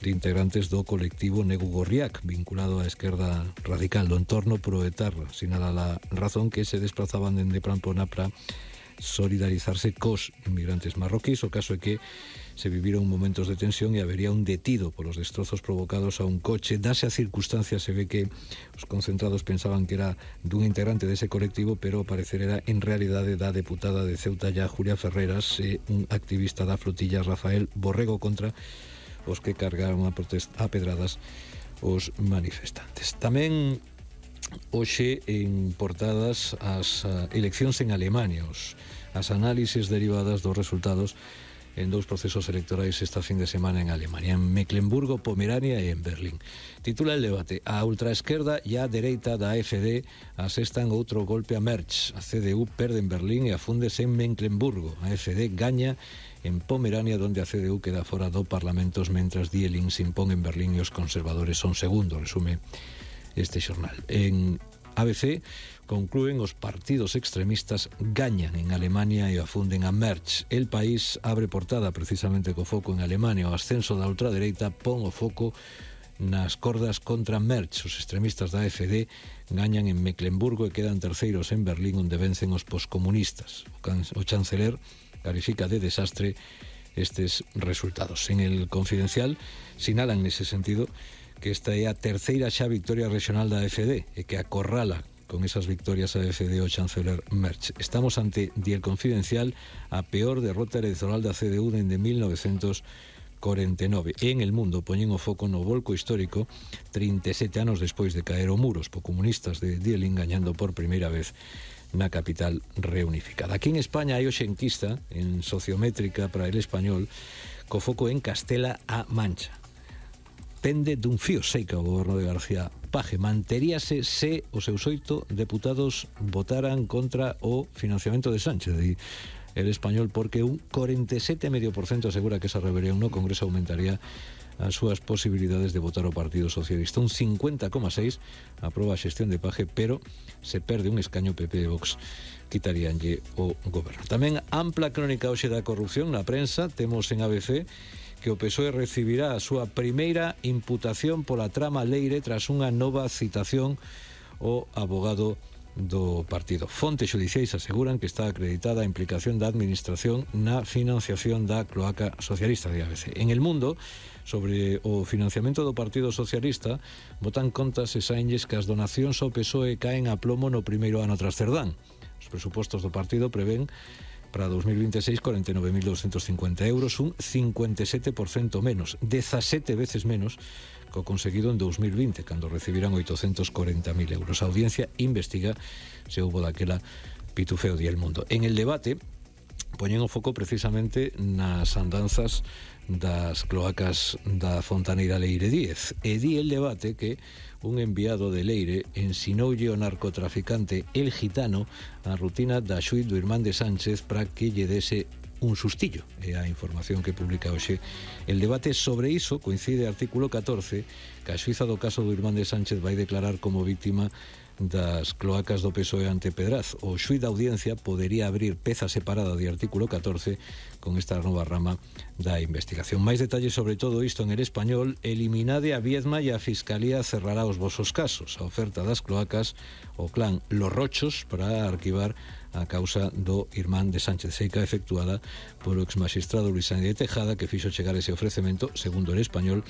de integrantes do colectivo Negu Gorriak, vinculado á esquerda radical do entorno proetarra. Sinala la razón que se desplazaban dende Pamplona para solidarizarse cos inmigrantes marroquíes. O caso é que se viviron momentos de tensión e habería un detido polos destrozos provocados a un coche. Dase a circunstancia, se ve que os concentrados pensaban que era dun integrante dese colectivo, pero ao parecer era en realidade da deputada de Ceuta ya, Julia Ferreras, e un activista da flotilla, Rafael Borrego, contra os que cargaron a pedradas os manifestantes. Tamén hoxe en portadas as eleccións en Alemania, as análises derivadas dos resultados en dous procesos electorais esta fin de semana en Alemania, en Mecklemburgo, Pomerania e en Berlín. Titula el debate: a ultraesquerda e a dereita da AfD asestan outro golpe a Merz. A CDU perde en Berlín e afúndese en Mecklemburgo. A AfD gaña en Pomerania, donde a CDU queda fora do Parlamentos, mentras Die Linke se impón en Berlín e os conservadores son segundo, resume este xornal. En ABC conclúen os partidos extremistas gañan en Alemania e afunden a Merz. El País abre portada precisamente co foco en Alemania. O ascenso da ultradereita pon o foco nas cordas contra Merz. Os extremistas da AfD gañan en Mecklemburgo e quedan terceiros en Berlín, onde vencen os poscomunistas. O chanceler califica de desastre estes resultados. En el Confidencial sinalan nese sentido que esta é a terceira xa victoria regional da AfD e que acorrala con esas victorias a AfD o chanceler Merz. Estamos ante, di el Confidencial, a peor derrota electoral da CDU dende 1949. En El Mundo poñen o foco no volco histórico 37 anos despois de caer o muro. Os comunistas de Die Linke gañando por primeira vez na capital reunificada. Aquí en España hai hoxe enquista en Sociométrica para El Español co foco en Castela-A Mancha. Pende dun fío seica o goberno de García Paje. Manteríase se os seus 8 deputados votaran contra o financiamento de Sánchez, di El Español, porque un 47,5% asegura que esa rebelión no Congreso aumentaría as súas posibilidades de votar o Partido Socialista. Un 50,6% aproba a xestión de Paje, pero se perde un escaño PP e Vox quitaríanlle o goberno. Tamén ampla crónica hoxe da corrupción na prensa. Temos en ABC que o PSOE recibirá a súa primeira imputación pola trama Leire tras unha nova citación ao abogado do partido. Fontes xudiciais aseguran que está acreditada a implicación da administración na financiación da cloaca socialista de ABC. En El Mundo, sobre o financiamento do Partido Socialista, botan contas e saenlles que as donacións ao PSOE caen a plomo no primeiro ano tras Cerdán. Os presupostos do partido prevén para 2026 49.250 euros, un 57% menos, 17 veces menos que o conseguido en 2020, cando recibirán 840.000 euros. A audiencia investiga se houbo daquela pitufeo di El Mundo. En El Debate poñen o foco precisamente nas andanzas das cloacas da fontaneira Leire 10. E di El Debate que un enviado de Leire ensinoulle ao narcotraficante El Gitano a rutina da xuíz do irmán de Sánchez para que lle dese un sustillo. É a información que publica hoxe El Debate. Sobre iso coincide artículo 14, que a xuíza do caso do irmán de Sánchez vai declarar como víctima das cloacas do PSOE ante Pedraz. O xuíz da audiencia podería abrir peza separada de artículo 14 con esta nova rama da investigación. Máis detalles sobre todo isto en El Español. Eliminade a Viedma e a Fiscalía cerrará os vosos casos. A oferta das cloacas o clan Los Rochos para arquivar a causa do irmán de Sánchez Seica, efectuada polo exmaxistrado Luis Sánchez de Tejada, que fixo chegar ese ofrecemento, segundo El Español,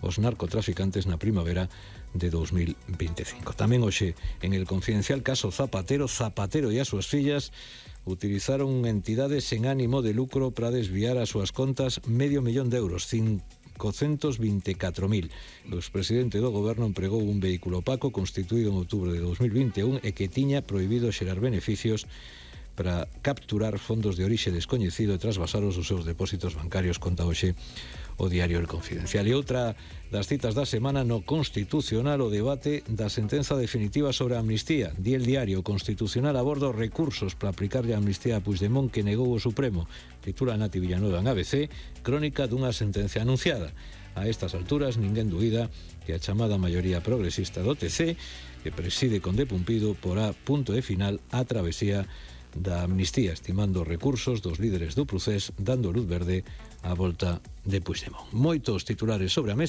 os narcotraficantes na primavera de 2025. Tamén hoxe en El Confidencial, caso Zapatero e as súas fillas utilizaron entidades sen ánimo de lucro para desviar as súas contas $500,000 de euros, 524.000. O expresidente do goberno empregou un vehículo opaco constituído en outubro de 2021 e que tiña prohibido xerar beneficios para capturar fondos de orixe descoñecido e trasvasaros os seus depósitos bancarios, conta hoxe o diario El Confidencial. E outra das citas da semana no Constitucional, o debate da sentenza definitiva sobre a amnistía. Di El Diario: Constitucional aborda os recursos para aplicarlle a amnistía a Puigdemont que negou o Supremo. Titula Nati Villanueva en ABC: crónica dunha sentencia anunciada. A estas alturas ninguén duida que a chamada maioría progresista do TC, que preside Conde Pumpido, porá punto e final á travesía da amnistía, estimando os recursos dos líderes do procés, dando luz verde á volta de Puigdemont. Moitos titulares sobre a mesa.